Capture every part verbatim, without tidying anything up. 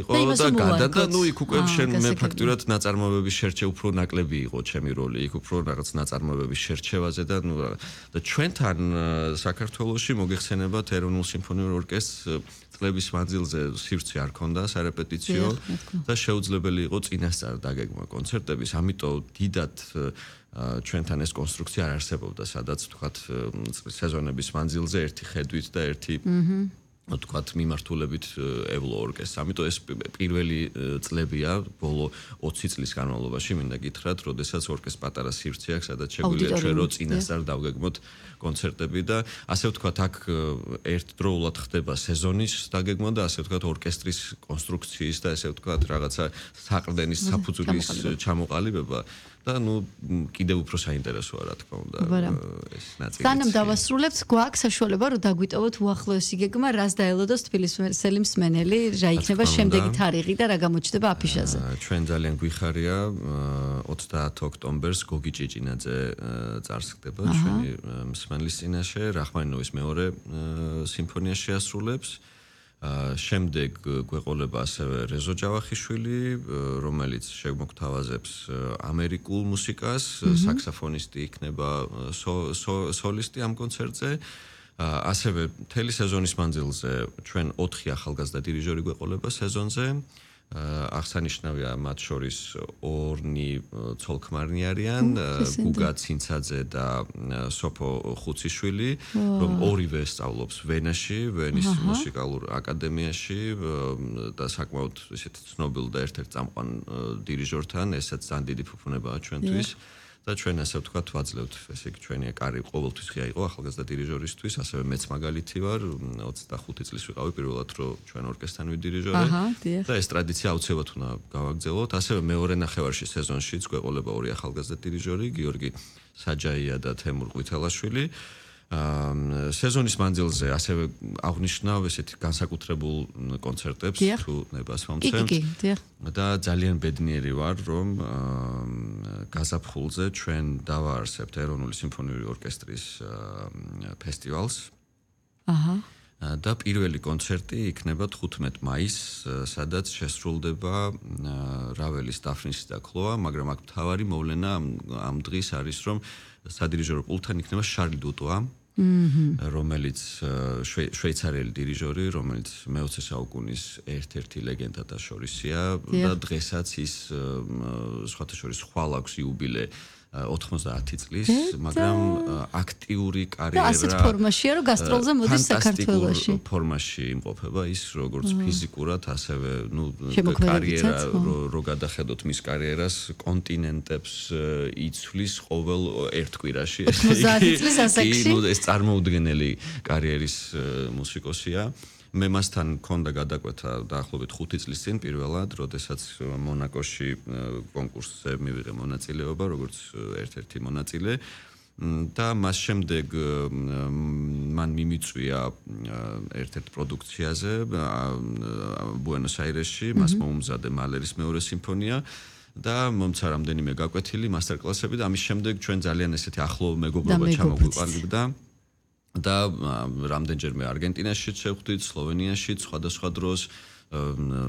იყო და გადა და ნუ იქ უკვე შენ მე ფაქტურად ნაწარმოებების შერჩე უფრო ნაკლები იყო ჩემი როლი იქ უფრო რაღაც ნაწარმოებების შერჩევაზე და ნუ და ჩვენთან საქართველოში მოგეხსენებათ ეროვნულ სიმფონიურ ორკესტრს წლების მანძილზე სივრცე არ ქონდა სარეპეტიციო და შეუძლებელი იყო წინასწარ დაგეგმა კონცერტების ამიტომ დიდად ჩვენთან ეს კონსტრუქცია არ არსებობდა სადაც თქვათ სეზონების მანძილზე ერთი ხედვით და ერთი თქვათ მიმართულებით ევლო ორკესტრს. ამიტომ ეს პირველი წლებია ბოლო ოცი წლის განმავლობაში მინდა გითხრათ, როდესაც ორკესტრს პატარა სივრცე აქვს, სადაც შეგვიძლია ჩვენ რო წინასწარ დავგეგმოთ კონცერტები და ასე ვთქვათ, აქ ერთდროულად ხდება სეზონის დაგეგმა და ასე ვთქვათ, ორკესტრის კონსტრუქციის და ასე ვთქვათ, რაღაცა საყრდენის საფუძვლის ჩამოყალიბება და ნუ კიდევ უფრო საინტერესოა რა თქმა უნდა ეს ნაწილი. სანამ დავასრულებთ, გვაქვს საშუალება რომ დაგვიტოვოთ უახლოესი გეგმა, რას დაელოდოს თბილისელი მსმენელი, რა იქნება შემდეგი თარიღი და რა გამოჩნდება აფიშაზე. ჩვენ ძალიან გვიხარია ოცდაათი ოქტომბერს გოგი ჭიჭინაძე წარსდგება ჩვენი მსმენელის წინაშე, რახმანინოვის მეორე სიმფონია შეასრულებს. შემდეგ გვეყოლება ასევე რეზო ჯავახიშვილი, რომელიც შემოგთავაზებს ამერიკულ მუსიკას, საქსოფონისტი იქნება სოლისტი ამ კონცერტზე. ასევე მთელი სეზონის მანძილზე ჩვენ ოთხი ახალგაზრდა დირიჟორი გვეყოლება სეზონზე. აღსანიშნავია მათ შორის ორნი ცოლქმარნი არიან, გუგა ცინცაძე და სოფო ხუციშვილი, რომ ორივე სწავლობს ვენაში, ვენის მუსიკალურ აკადემიაში და საკმაოდ ისეთ ცნობილ და ერთ-ერთ წამყვან დირიჟორთან, ესაც ძალიან დიდი ფუფუნებაა ჩვენთვის. და ჩვენ ასე ვთქვათ, ვაძლევთ, ესე იგი ჩვენი კარი ყოველთვის ღია იყო ახალგაზრდა დირიჟორისთვის, ასევე მეც მაგალითი ვარ, ოცდახუთი წლის ვიყავი პირველად, რომ ჩვენ ორკესტრთან ვიდირიჟორე და ეს ტრადიცია აუცილებლად უნდა გავაგრძელოთ. ასევე მეორე ნახევარში სეზონშიც გვეყოლება ორი ახალგაზრდა დირიჟორი, გიორგი საჯაია და თემურ ყვითელაშვილი. სეზონის მანძილზე ასევე აღნიშნავ ესეთი განსაკუთრებულ კონცერტებს თუ ნებას მომცემთ და ძალიან ბედნიერი ვარ რომ გაზაფხულზე ჩვენ დავაარსებთ ეროვნული სიმფონიური ორკესტრის ფესტივალს. აჰა და პირველი კონცერტი იქნება თხუთმეტი მაისს, სადაც შესრულდება რაველის დაფნისი და ქლოა, მაგრამ აქ მთავარი მოვლენა ამ დღის არის რომ სადირიჟორო პულტთან იქნება შარლი დუტოა, რომელიც შვეიცარიელი დირიჟორი, რომელიც მეოცე საუკუნის ერთ-ერთი ლეგენდათა შორისია და დღესაც ის სხვათა შორის ხვალ აქვს იუბილე ოთხმოცდაათი წლის, მაგრამ აქტიური კარიერა და ასეთ ფორმაშია, რომ გასტროლზე მოდის საქართველოში. ფანტასტიკურ ფორმაში იმყოფება ის როგორც ფიზიკურად, ასევე ნუ კარიერა რო გადახედოთ მის კარიერას, კონტინენტებს იცვლის ყოველ ერთ კვირაში. ოცდაათი წლის ასაკში. ნუ ეს წარმოუდგენელი კარიერის მუსიკოსია. მე მასთან მქონდა გადაკვეთა დაახლოებით ხუთი წლის წინ პირველად, როდესაც მონაკოში კონკურსზე მივიღე მონაწილეობა, როგორც ერთ-ერთი მონაწილე და მას შემდეგ მან მიმიწვია ერთ-ერთ პროდუქციაზე ბუენოს-აირესში, მას მოუმზადე მალერის მეორე სიმფონია და მომცა რამდენიმე გაკვეთილი მასტერ-კლასები და ამის შემდეგ ჩვენ ძალიან ესეთი ახლო მეგობრობა ჩამოგვიყვანებდა. და რამდენჯერმე არგენტინაშიც შევხვდით, სლოვენიაშიც, სხვადასხვა დროს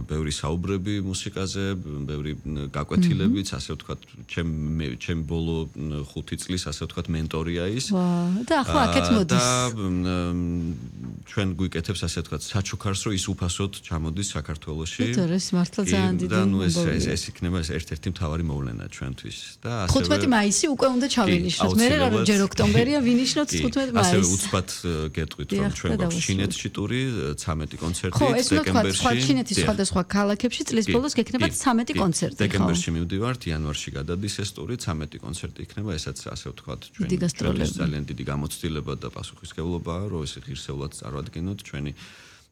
ბევრი საუბრები მუსიკაზე, ბევრი გაკვეთილებიც, ასე ვთქვათ, ჩემ ჩემ ბოლო ხუთი წლის, ასე ვთქვათ, მენტორია ის. და ახლა აქეთ მოდის. და ჩვენ გვიკეთებს, ასე ვთქვათ, საჩუქარს, რომ ის უფასოდ ჩამოდის საქართველოში. ეს მართლა ძალიან დიდი. და ნუ ეს ეს იქნება ეს ერთ-ერთი მთავარი მოვლენა ჩვენთვის. და ასევე თხუთმეტი მაისი უკვე უნდა ჩავინიშნოთ. მე რა რომ ჯერ ოქტომბერია ვინიშნოთ თხუთმეტი მაისი. ასევე უცბად გეტყვით, რომ ჩვენ გვაქვს ჩინეთში ტური, ცამეტი კონცერტი დეკემბერში. ჩინეთის სხვადასხვა ქალაქებში წლის ბოლოს გექნება ცამეტი კონცერტი. დეკემბერში მივდივართ, იანვარში გადადის ეს ტური, ცამეტი კონცერტი იქნება, ესაც ასე ვთქვათ, ჩვენი ძალიან დიდი გამოცდილება და პასუხისმგებლობაა, რომ ეს ღირსეულად წარვადგინოთ ჩვენი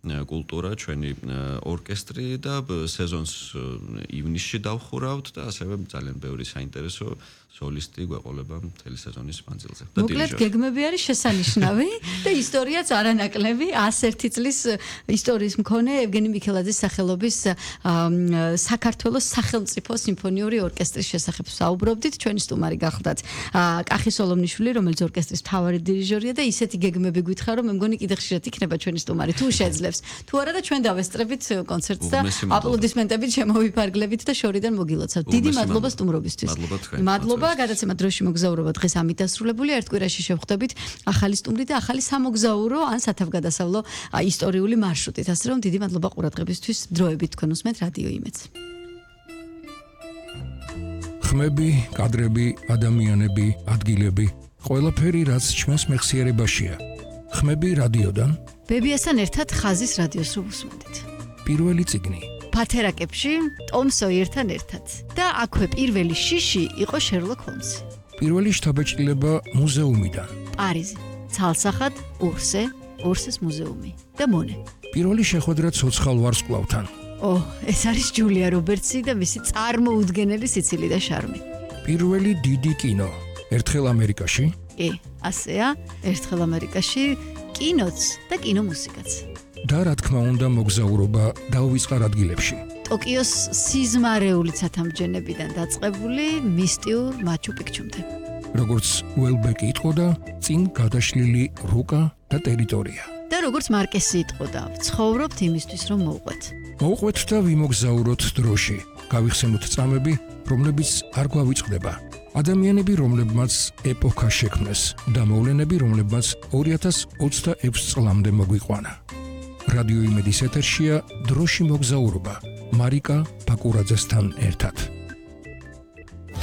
კულტურა, ჩვენი ორკესტრი და სეზონს ივნისში დავხურავთ და ასევე ძალიან ბევრი საინტერესო სოლისტი გვეყოლება მთელი სეზონის მანძილზე. და მოკლედ გეგმები არის შესანიშნავი და ისტორიაც არანაკლები. one hundred one წლის ისტორიის მქონე ევგენი მიქელაძის სახელობის საქართველოს სახელმწიფო სიმფონიური ორკესტრის შესახებ საუბრობდით. ჩვენი სტუმარი გახლდათ კახი სოლომნიშვილი, რომელიც ორკესტრის მთავარი დირიჟორია და ისეთი გეგმები გვითხრა, რომ მე მგონი კიდე ხშირად იქნება ჩვენი სტუმარი თუ შეძლებს. თუ არა და ჩვენ დავესწრებით კონცერტს და აპლოდისმენტებით შემოვიფარგლებით და შორიდან მოგილოცავთ. დიდი მადლობა სტუმრობისთვის. მადლობა, გადაცემა დროში მოგზაურობა დღეს ამით დასრულებულია. ერთ კვირაში შევხვდებით ახალი სტუმრი და ახალი სამოგზაურო ან სათავგადასავლო ისტორიული მარშრუტით. ასე რომ დიდი მადლობა ყურადღებისთვის. დროებით თქვენ უსმენთ რადიო იმედს. ხმები, კადრები, ადამიანები, ადგილები, ყველაფერი რაც ჩვენს მეხსიერებაშია. ხმები რადიოდან, ბებიასთან ერთად ხაზის რადიოს რო უსმენთ. პირველი წიგნი. ფათერაკებში ტომ სოიერთან ერთად. და აქვე პირველი შიში იყო შერლოკ ჰოლმსი. პირველი შთაბეჭდილება მუზეუმიდან. პარიზი, ცალსახად ურსე, ურსეს მუზეუმი და მონე. პირველი შეხვედრა ცოცხალ ვარსკვლავთან. ო, ეს არის ჯულია რობერტსი და მისი წარმოუდგენელი სიცილი და შარმი. პირველი დიდი კინო. ერთხელ ამერიკაში? კი, ასეა, ერთხელ ამერიკაში კინოც და კინომუსიკაც. და რა თქმა უნდა მოგზაურობა დაუვიწყარ ადგილებში. ტოკიოს სიზმარეული ცათამბჯენებიდან დაწყებული მისტიურ მაჩუ-პიქჩუმდე. როგორც უელბეკი იტყოდა, წინ გადაშლილი რუკა და ტერიტორია. და როგორც მარკესი იტყოდა, ვცხოვრობთ იმისთვის, რომ მოვყვეთ. მოვყვეთ და ვიმოგზაუროთ დროში. გავიხსენოთ წამები, რომლებიც არ გვავიწყდება. ადამიანები, რომლებმაც ეპოქა შექმნეს და მოვლენები, რომლებმაც ორი ათას ოცდაექვსი წლამდე მოგვიყვანა. რადიო იმედის ეთერშია დროში მოგზაურობა მარიკა ბაკურაძესთან ერთად.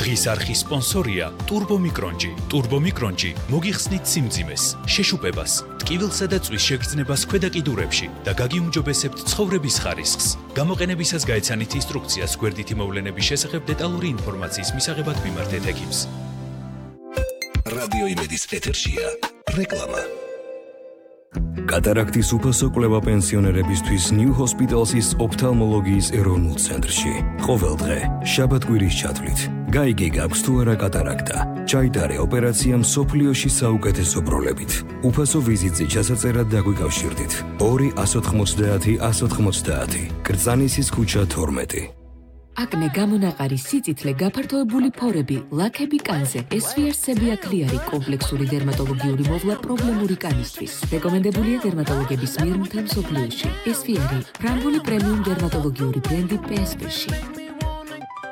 დღის არხის სპონსორია ტურბომიკრონჯი. ტურბომიკრონჯი მოგიხსნით სიმძიმეს, შეშუპებას, ტკივილსა და წვის შეგრძნებას ქვედა კიდურებში და გაგიუმჯობესებთ ცხოვრების ხარისხს. გამოყენებისას გაეცანით ინსტრუქციას გვერდითი მოვლენების შესახებ დეტალური ინფორმაციის მისაღებად მიმართეთ ექიმს. რადიო იმედის ეთერშია რეკლამა. კატარაქტის უფასო კვლევა პენსიონერებისთვის ნიუ ჰოსპიტალსის ოფთალმოლოგიის ეროვნულ ცენტრში. ყოველ დღე, შაბათ-კვირის ჩათვლით, გაიგე გაქვს თუ არა კატარაქტა. ჩაიტარე ოპერაცია მსოფლიოში საუკეთესო პროლებით. უფასო ვიზიტზე ჩასაწერად დაგვიკავშირდით. ორი ათას ოთხმოცდაათი ათას ოთხმოცდაათი. კრწანისის ქუჩა თორმეტი. აკნე გამონაყარი სიწითლე გაფართოებული ფორები ლაქები კანზე ესვიარ სებიაქლიარი კომპლექსური დერმატოლოგიური მოვლა პრობლემური კანისთვის რეკომენდებულია დერმატოლოგების მიერ მთელ მსოფლიოში ესვიარი ფრანგული პრემიუმ დერმატოლოგიური ბრენდი პი ეს პი-ში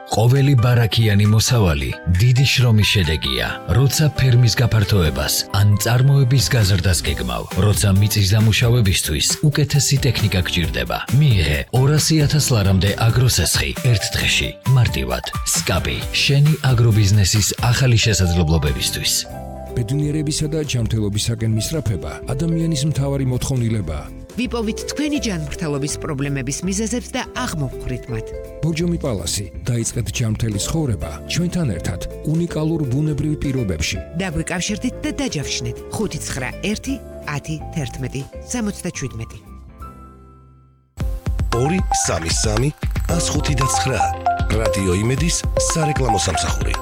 ყოველი ბარაქიანი მოსავალი დიდი შრომის შედეგია, როცა ფერმის გაფართოებას ან წარმოების გაზრდას გეგმავ, როცა მიწის დამუშავებისთვის უკეთესი ტექნიკა გჭირდება. მიიღე ორასი ათას ლარამდე აგროსესხი ერთ დღეში, მარტივად. სკაპი, შენი აგრობიზნესის ახალი შესაძლებლობებისთვის. ბედნიერებისა და ჯანმრთელობისაკენ მისწრაფება ადამიანის მთავარი მოთხოვნილებაა. ვიპოვით თქვენი ჯანმრთელობის პრობლემების მიზეზებს და აღმოვხვრით მათ. ბორჯომი პალასი, დაიწყეთ ჯანმრთელი ცხოვრება ჩვენთან ერთად უნიკალურ ბუნებრივ პირობებში. დაგვიკავშირდით და დაჯავშნეთ ხუთი ცხრა ერთი ათი თერთმეტი სამოცდაშვიდმეტი. ორი სამი სამი ას ხუთი და ცხრა. რადიო იმედის სარეკლამო სამსახური.